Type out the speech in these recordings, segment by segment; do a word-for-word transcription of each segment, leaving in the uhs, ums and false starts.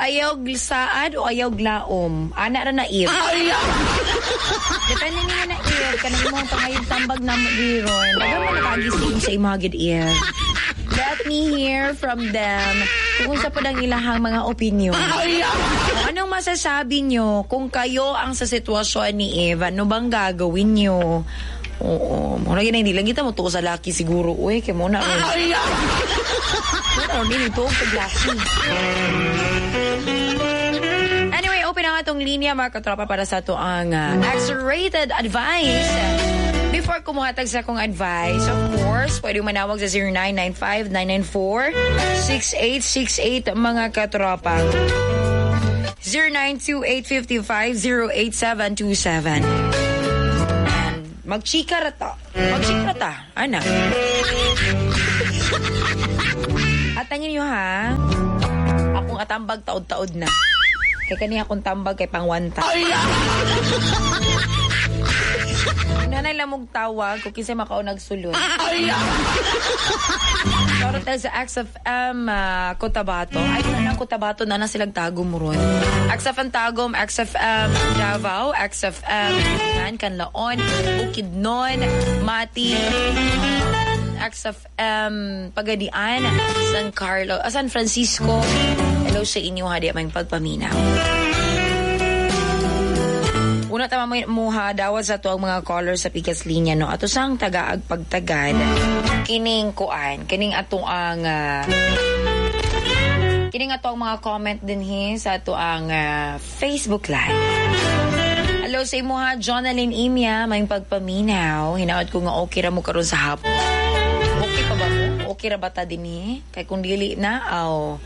Ayaw saad o ayaw glaom? Ana ra na Eve. Depende niyo na Eve. Kanang imong pangayog tambag na mo diron. Daghang mo nakagising sa imong gid Eve. Let me hear from them kung unsa pod ang ilahang mga opinion. Kung anong masasabi nyo kung kayo ang sa sitwasyon ni Eve, ano bang gagawin nyo? Oo. Muna gina, hindi lang kita mo tuo sa laki siguro. Uy, kay mo na. Muna ron, hindi tuo sa laki. Anyway, open ang atong linya mga katropa para sa ato ang uh, X-rated advice. Before kumuhatag sa akong advice, of course, pwede manawag sa zero nine nine five, nine nine four, six eight six eight mga katropa. zero nine two eight five five zero eight seven two seven. And magchika ra ta. Magchika ra ta. Ana. At tangin nyo ha, akong atambag taod-taod na. Kay kani akong tambag kay pangwanta. Nanay lamog tawag kung kinsay makaunag sulod. Shoutout tayo sa X F M uh, Cotabato. Ay, wala lang Cotabato na na silang Tagum ron. X F M Tagum, X F M Davao, X F M Man, Canlaon, Bukidnon, Mati, X F M Pagadian, San Carlos, ah, San Francisco. Hello sa inyo, hadi aming pagpaminaw. Una tama mo muha dawat sa tuang mga callers sa Pikas Linya no. Ato sang tagaag pagtagad kining kuan, kining ato ang uh, kining ato ang mga comment dinhi sa ato ang uh, Facebook Live. Hello sa imo ha, Jonalyn Imia, may pagpaminaw. Hinaot ko nga okay ra mo karon sa hapon. Okay pa ba mo? Okay ra ba ta dinhi? Kay kung dili na aw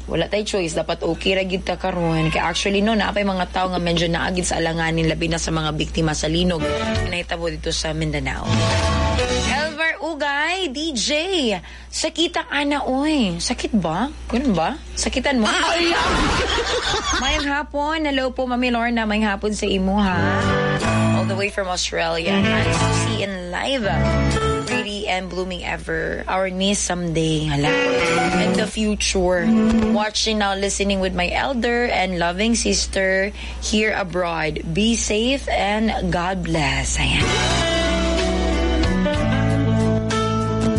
wala tay choice, dapat okay ra gid ta karon. Kay actually no, naapay mga tao nga medyo naagid sa alanganin labi na sa mga biktima sa linog na nahitabo dito sa Mindanao. Elvar Ugay, D J, sakita ana oy. Sakit ba? Ganun ba? Sakitan mo? Mayong hapon. Hello po, Mami Lorna. Mayong hapon sa imo ha. All the way from Australia. Nice to see in live. Pretty and blooming ever. Our niece someday. Hala. In the future. Watching now, listening with my elder and loving sister here abroad. Be safe and God bless. Ayan.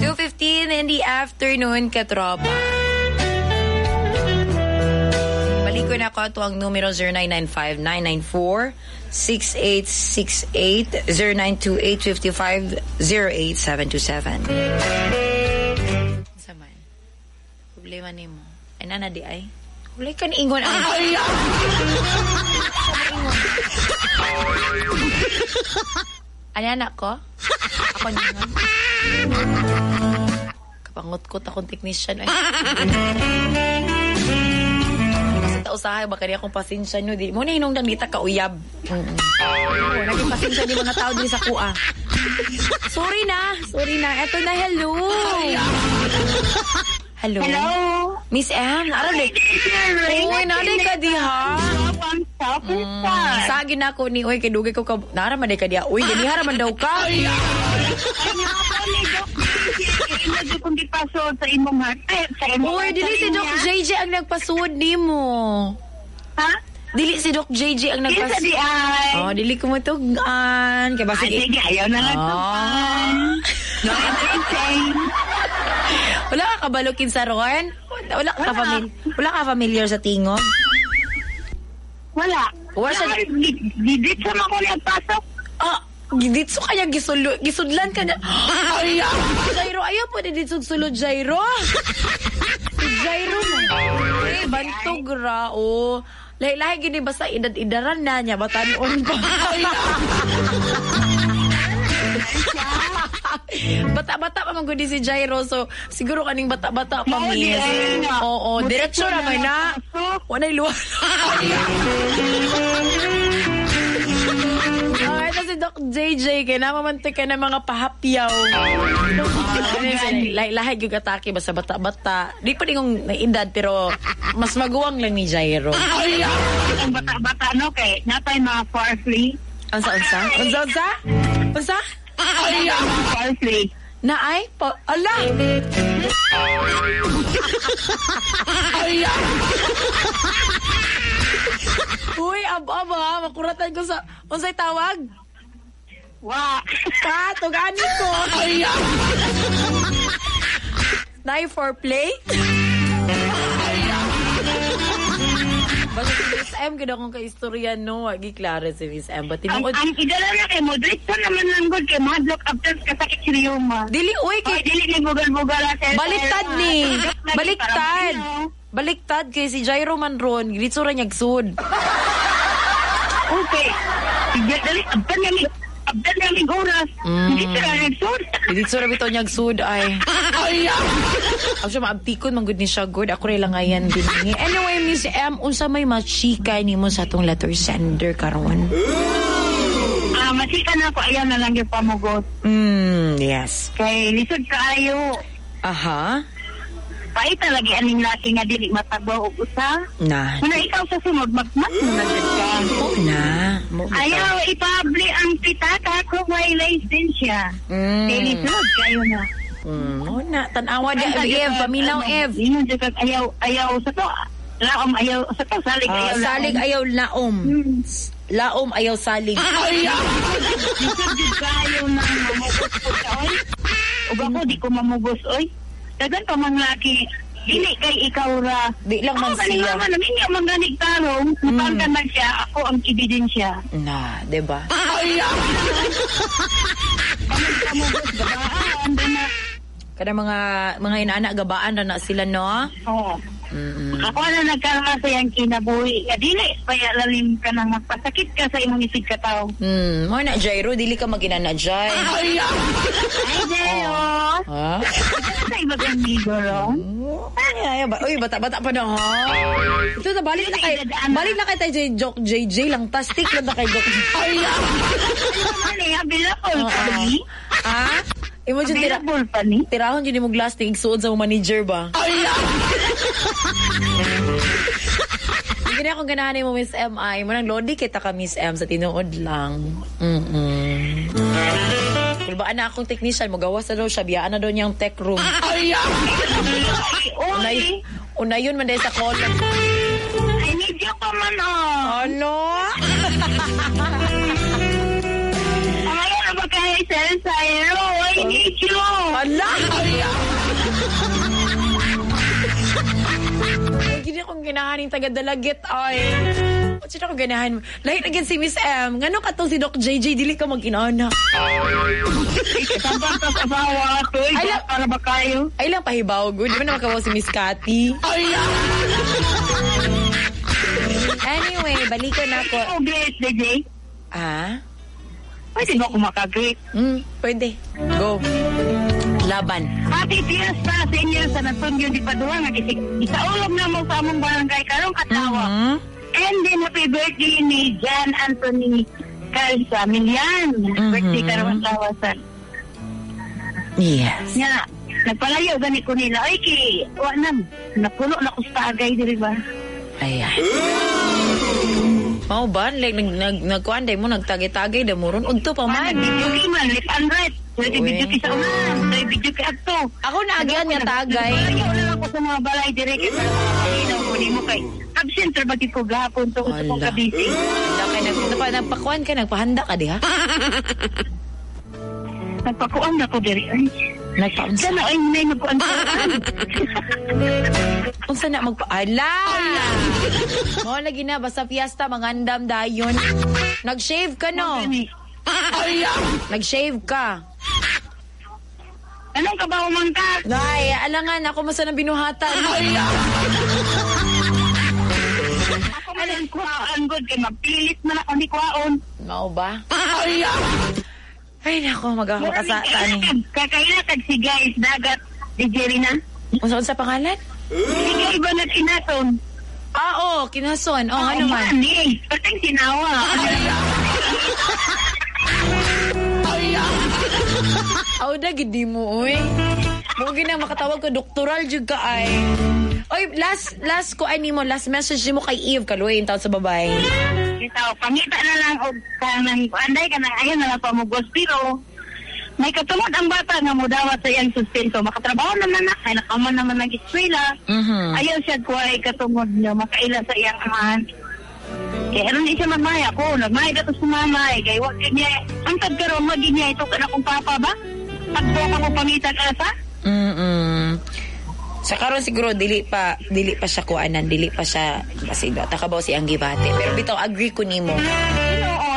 two fifteen in the afternoon, katropa. Balik ko na ako ato ang numero zero nine nine five, nine nine four, six eight six eight, zero nine two eight, five five zero eight seven two seven. Unsa man? Problema nimo. Ay nana di ay. Wala ka niingon ay. Ay anak ko? Ako ningon. Kapangot-kot akong technician ay. Basta usahay baka di akong pasensya nyo. Di mo na hinungdan dita ka uyab. Mm-mm. Oo, naging pasensya di mga tao di sa kuha. Sorry na, sorry na. Eto na, hello. Hello. Hello. Miss M, araw di. Uy, naday ka diha. Mm, sagi na ako ni, uy, kay dugay ko ka, nara man day ka diha. Uy, ganihara man daw ka. Ay, kung gipasod sa imong hati. Uy, dili si Doc J J ang nagpasod nimo. Ha? Dili si Doc J J ang nagpasod. Kinsa di ay. Oh, dili ko matugan. Kay basig. Ay, sige, ayaw na lang tugan. No entertain. Wala ka kabalukin sa ron? Wala ka Wala. Famil- wala ka familiar sa tingog? Wala. Wala siya. Didit sa mga nagpasok. Ah, giditso kaya gisulo, gisudlan ka niya. Ay, Jairo, ayaw po diditso sulod, Jairo. Jairo mo. Eh, bantog ra, oh. Lahi-lahi gini basta edad-edaran na niya, batanon pa. Bata-bata pa man gud si Jairo, so siguro kaning bata-bata pa, miss. Oo, diretso ra man na. Walay luwa. Ay, ito si Doc J J, kaya namamantay ka ng mga pahapyaw. Lahi-lahi yung atake, basta bata-bata. Di pa din kong naedad, pero mas maguwang lang ni Jairo. Ang bata-bata, no? Kay natay mga parsley. Unsa, unsa? Unsa, unsa? Unsa? Ay, parsley. Na ay? Pa, ala! Ay! Uy, ab-ab ha, makuratan ko sa unsay tawag? Wa. Ka, tugani ko. Nine for play? Basta si Miss M, gano'n akong kaistorya, no? Wagi klaro si Miss M. But Ang, tinuod, ang idala na kay mo, diretso naman lang good kay madlock after kasakit si Rioma. dili, uy, Kay kay, dili ni bugal-bugal sa baliktad ni. Baliktad. Baliktad kay si Jairo man ron, diretso ra niyag sud. Okay. Sige, dali, abdan namin, abdan namin oras. Mm. Hindi sila nagsud. Diretso ra bitaw niyag sud ay. Ako siya maabtikon man gud ni siya good. Ako rin lang ngayon binhi. Anyway, Miss M, unsa may machika nimo sa atong letter sender karon? Ah, masika na ako, ayaw na lang yung pamugot. Mm, yes. Kay lisod kaayo. Aha. Paita lagi aning laki nga dili matagbaw og usa. Na. Muna ikaw sa sunod, magmas mo na jud ka. Mo na. Mo bitaw. Ayaw, ipabli ang pitaka kung may lisensya. Mm. Kay lisod kayo na. Mm, mo na. Tan-awa di Ev, paminaw Ev. Ingon jud kag ayaw, ayaw sa to. Laom ayaw sa to, salig Ah, ayaw. salig ayaw laom. Laom ayaw salig. Lisod jud kayo na mamugos po siya, oy. Ug ako di ko mamugos, oy. Dagan pa mang laki. Dili kay ikaw ra. Di lang man Ako ganing siya. mama, naminyo man ganig tarong. Napangkan man siya, ako ang ebidensya. Na, 'di ba? Pamugos, gabaan, na. Kada mga mga inaana gabaan ra na sila no. Oo. Mm. Ako na nagkaroon sa iyang kinabuhi. Nga dili, paya lalim ka nang magpasakit ka sa imong isig kataw. Mm, mo na Jairo dili ka maginana Jai. Ay, Jayo! Ha? Sa ibang amigo, ro? Ay, ay, ba, uy, bata-bata pa na, ha? Ito na, balik na kay, balik na kay tayo J, Joke J J lang. Tastik lang na kay Joke J J. Ano eh, available pa ni? Ha? Imo dyan, tira, Available pa ni? tirahon dyan mo glass ting igsuod sa mong manager ba? Hindi na akong ganahan mo, Miss M I. Mo nang lodi kita ka, Miss M, sa tinuod lang. Mm-mm. Kulbaan na akong technician, magawas na daw siya, biyaan na daw niyang tech room. Ay, Unay, oy! una yun man dahil sa call. I need you pa man, oh! Ano? Pamaya na ba kaya Sir Sairo? I need you! Ala! Ay, gini akong ganahan yung taga-dalagit, ay. Sino akong ganahan? Lahi na gin si Miss M. Ngano ka tong si Doc J J, dili ka mag-inaana. Sabang ka sa asawa, toy. Ay, la- Para ba kayo? Ay lang pahibaw, good. Di ba naman kabaw si Miss Cathy? Anyway, balikan na ako. Oh, great, D J. Ah? Pwede ba ako makagreet? Mm, pwede. Go. Laban. Happy Fiesta sa inyo sa Natunyo di Padua nga isig isaulog na mo sa among barangay karong adlaw. Hmm? And then happy birthday ni John Anthony Calza Milian. Birthday karong adlaw sa. Yes. Nga nagpalayo gani ko nila. Ay kay wa na napuno na ko sa tagay diri ba. Ayan. Mao ba? Like, nag, nag, nagkuan day mo, nagtagay-tagay da mo ron. Udto pa man. Video kay man left and right. Pwede Uy. video kay sa unan, pwede video kay adto. Ako na agyan nga tagay. Nagpalayo na lang ko sa mga balay diri kay sa mga ko nimo kay absent ra ba gid ko gahapon to sa kong Ala. kabisi. Wala kay nag, nagpa, nagpakuan ka, nagpahanda ka diha. Nagpakuan na ko diri ay. Nagpaunsa. Sana ay may magkuan sa Unsa na magpa... Ala! Mao lagi na, basta fiesta, mangandam dayon. Nag-shave ka, no? Nag-shave ka. Anong kabaw man ka? Nay, alangan, ako masa ng binuhatan. Ako man ang kuhaan good kay magpilit man ako ni kuhaon. Mao ba? Ay, nako, mag-ako ka sa tani. Kakaila kag si guys dagat di Jerry na. Unsa unsa pangalan? Si guy ba na kinaton? Ah, oo, kinason. Oh, ano man. Ni, patang sinawa. Aw, da, gidi mo, uy. Mo gina makatawag ko, doktoral jud ka ay. Oy, last last ko ay nimo, last message nimo kay Eve kaluoy taon sa babay. Bitaw, pangita na lang og kanang anday kanang ayaw na lang pamugos pero may katungod ang bata nga modawat sa iyang suspenso. Makatrabaho naman na, kay nakaman naman ng eskwela. Mhm. Ayaw siya kuhay katungod niya, makaila sa iyang amahan. Kaya aron siya magmaya ko, nagmaya ka to sa mama, eh, kay wa gid niya, ang tag karon wa gid niya ito kana kong papa ba? Pagbo ka mo pangitan asa? Mm. Sa karon siguro dili pa dili pa siya kuanan, dili pa siya kasi ta kabaw si ang gibate. Pero bitaw agree ko nimo.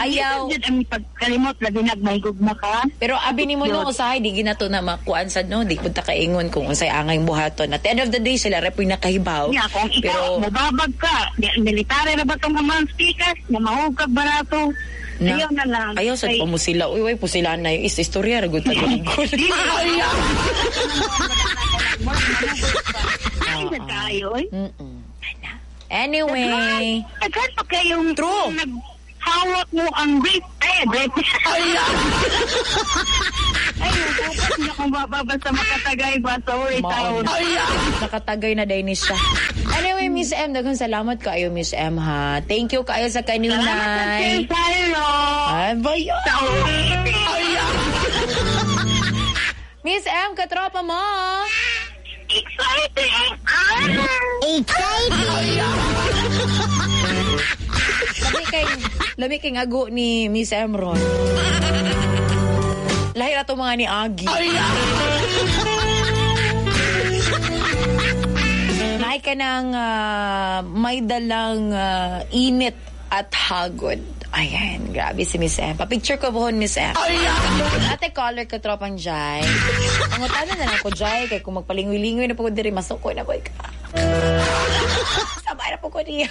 Ayaw. Jud ang pagkalimot labi nagmahigugma ka. Pero abi nimo no usahay di ginato na makuan sad no, di pud ta kaingon kung unsay angay buhaton. At the end of the day sila ra puy nakahibaw. Nya kung ikaw Pero mobabag ka, di- military ra ba tong amang speakers, na mahug kag barato. Na- Ayaw na lang. Ayaw sad Kay- pa mo sila. Uy, uy, pusila na yung is istorya ra gud ta gud. Ay, sa tayo, eh. Mm. Ana. Anyway, Daghan pa kayong True. naghawak mo ang rape. Ay, rape. Ay, ay, bukas niya kung basta makatagay ba. Sorry, Mao taon. na. Nakatagay na day ni siya. Anyway, Miss M, daghang salamat kaayo, Miss M, ha. Thank you kaayo sa Salamat sa kanunay. Sir Ay, bayo. Sa ulitin. Miss M, katropa mo. Exciting. Ah! Lami kay, lami kay ago ni Miss M ron. Lahi na to mga ni Agi. Naay ka ng ah, may dalang ah, init at hagod. Ayan, grabe si Miss M. Pa-picture ko buhon, Miss M. Ate caller ka, tropang Jai. Ang utana na lang ko, Jai, kay kung magpalingoy-lingoy na po ko diri, masuko na po ka. Sabay na po ko niya.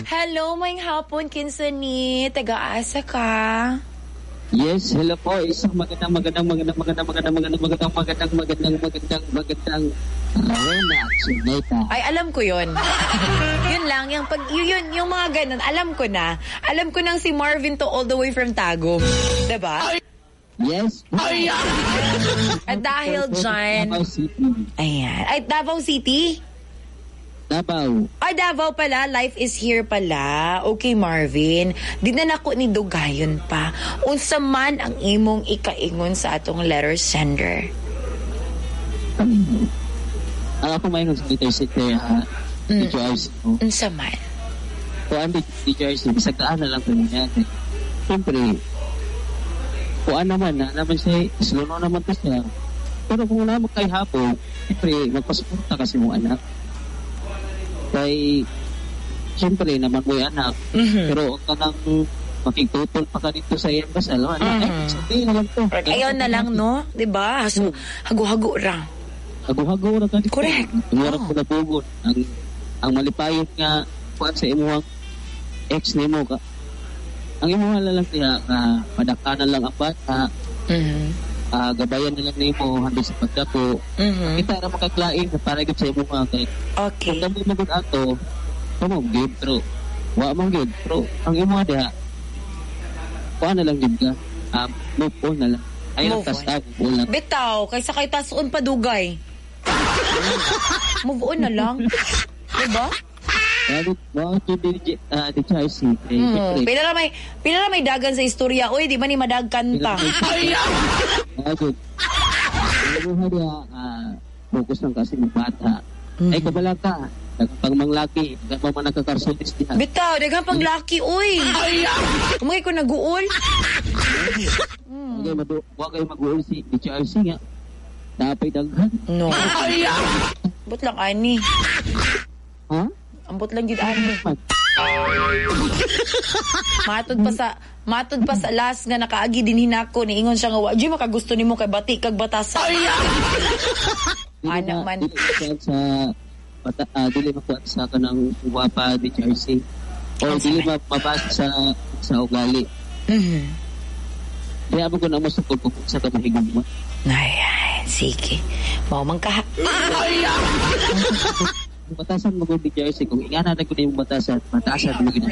Hello, may hapon, kinsa ni. Taga-asa ka. Yes, hello po. Isang magandang magandang magandang magandang magandang magandang magandang magandang magandang magandang magandang Rona Suneta. Ay, alam ko yun. Yun lang, yung pag, yun, yun, yung mga ganun, alam ko na. Alam ko nang si Marvin to all the way from Tagum. Diba? Yes. At dahil dyan, Davao City. Ayan. Ay, Davao City? Davao. Ay, Davao pala. Life is here pala. Okay, Marvin. Di na nako ni Dugayon pa. Unsa man ang imong ikaingon sa atong letter sender. Ang ako maingon sa letter center ha. Mm. D J R C. Unsa man? Kuan D J R C, bisag daan na lang ko niya. Siyempre, kuan naman na naman siya, slow na naman to siya. Pero kung wala mo kay hapon, siyempre, magpasuporta kasi mong anak. Kay, siyempre, naman mo yung anak. Mm-hmm. Pero ang kanang makigtutol pa ka dito sa iyang kasal, ano, Mhm. ay, sabihin na lang to. Ayaw na lang, no? Diba? So, hago-hago ra. Hago-hago ra ka dito. Correct. Murag Oh. ko na pugon. Ang, ang malipayon nga, kuan sa imuhang ex nimo ka. Ang imuha na lang siya, uh, padakanan lang ang bata, Mm-hmm. ah, gabayan na lang nimo hanggang sa pagdako. Mm-hmm. Kita ra makaklain para gyud sa imuha kay Okay. kung dami mo gud ato, kamo gyud pero wa man gyud pero ang imuha diha kuan na lang gyud ka. Um, move on na lang. Ay lang Move on. tas move on lang. Bitaw, kaysa kay tasun pa dugay. Move on na lang. Diba? Mao mao gyud di ah, di C. Eh, Hmm. siyempre, Pila ra may pila ra may dagan sa istorya. Uy, di ba ni madagkan ta? Mao gyud. Ang imuha diha ah, focus lang kasi mo bata. Mm. Ay kabala ka. Daghan pang manglaki, daghan pa man nagkakarsulis diha. Bitaw, daghan pang laki, uy. Kumagay ko naguol. Wa kay madu wa kay mag-uol si D J R C nga. Napay daghan. No. Ambot lang ani. Ha? Ambot lang gid ani. Matod pa sa matod pa sa last nga nakaagi din hinako niingon siya nga wa jud makagusto nimo kay bati kag batasa. Dili Ana na- man. Dili makuan sa bata, ah, dili makuan sa kanang guwapa D J R C. O Unsa dili man? ma mabasa sa sa ugali. Mhm. Kaya mo ko na masukol kung sa ka mahigugma. Ayan, sige. Mao man ka. Ang batasan mo D J R C kung ingana na ko yung batasan, batasan mo gid.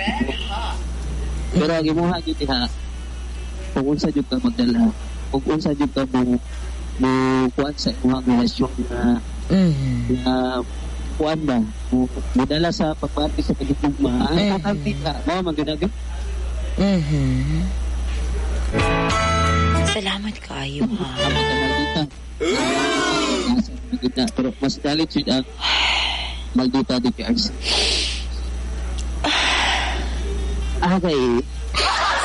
Pero ang imuha gyud diha kung unsa jud ka magdala, kung unsa jud ka mo mo kuan sa imuhang relasyon na Mhm. na kuan ba mo modala sa pagpati sa pagigugma ang Mm. importante ka mao man gyud na Mhm. Salamat kayo ha. ang pagkamaldita. Nasa na pero mas dalit jud ang maldita D J R C. Ah, kay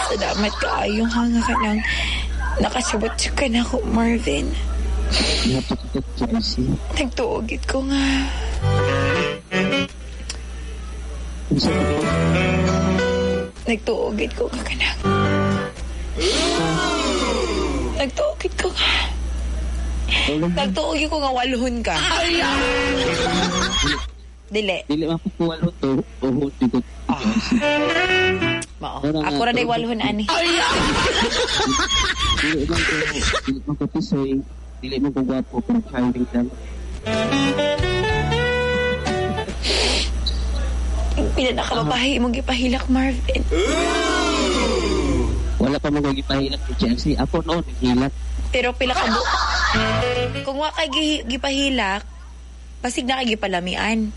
Salamat kaayo ha nga ka nang nakasabot ka na ako, Marvin. Ihapit ko J R C. Nagtuo gyud ko nga. Unsa ko? Nagtuo gyud ko nga kanang. Nagtuo gyud ko nga. Nagtuo gyud ko nga walhon ka. Dili. Dili man ko kuwalon to o di ko. Ah. Mao. Wala nga, Ako ra day tuo. walhon ani. Dili man ko dili man ko tisoy, dili man ko gwapo, pero charming lang. Pila na ka babae imong gipahilak, Marvin? Wala pa mo ko gipahilak ni J R C. Ako noon naghilak. Pero pila ka bu- Kung wa kay gi- gipahilak, basig na kay gipalamian.